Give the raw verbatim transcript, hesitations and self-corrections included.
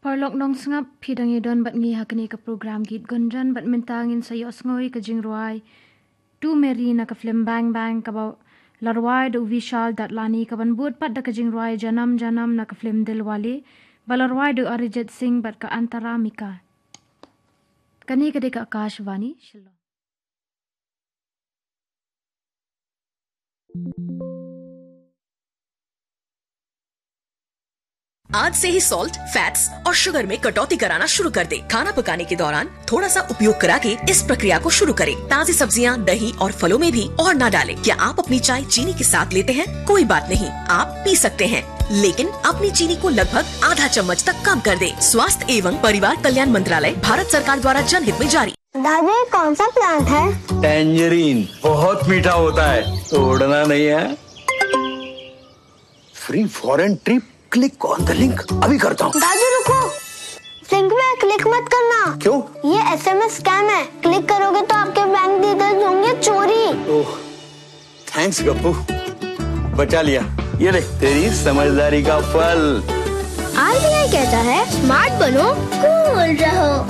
Paralok nongsngap, phi dang ïa don bad ngi ha kane ka program Geet Gunjan, bad mynta ngin sa ïohsngew ïa ka jingrwai Tu Meri na ka film Bang Bang, kaba la rwai da u Vishal Dadlani, kaban bud pat da ka jingrwai Janam Janam na ka film Dilwale, ba la rwai da u Arijit Singh bad ka Antara Mika. Kane ka dei ka Akashvani Shillong. आज से ही सॉल्ट, फैट्स और शुगर में कटौती कराना शुरू कर दें। खाना पकाने के दौरान थोड़ा सा उपयोग करा के इस प्रक्रिया को शुरू करें। ताजी सब्जियां, दही और फलों में भी और ना डालें। क्या आप अपनी चाय चीनी के साथ लेते हैं? कोई बात नहीं, आप पी सकते हैं, लेकिन अपनी चीनी को लगभग आधा चम्मच तक कम कर दें। स्वास्थ्य एवं परिवार कल्याण मंत्रालय, भारत सरकार द्वारा जनहित में जारी। दादू, ये कौन सा प्लांट है? टैंजरीन बहुत मीठा होता है, तोड़ना नहीं है। फ्री फॉरेन ट्रिप, क्लिक ऑन द लिंक, अभी करता हूँ। दादू, रुको। लिंक में क्लिक मत करना। क्यों? ये एसएमएस स्कैम है। क्लिक करोगे तो आपके बैंक डिटेल्स होंगे चोरी। ओह, थैंक्स गप्पू, बचा लिया। ये ले, तेरी समझदारी का फल। आरबीआई कहता है, स्मार्ट बनो, कूल रहो।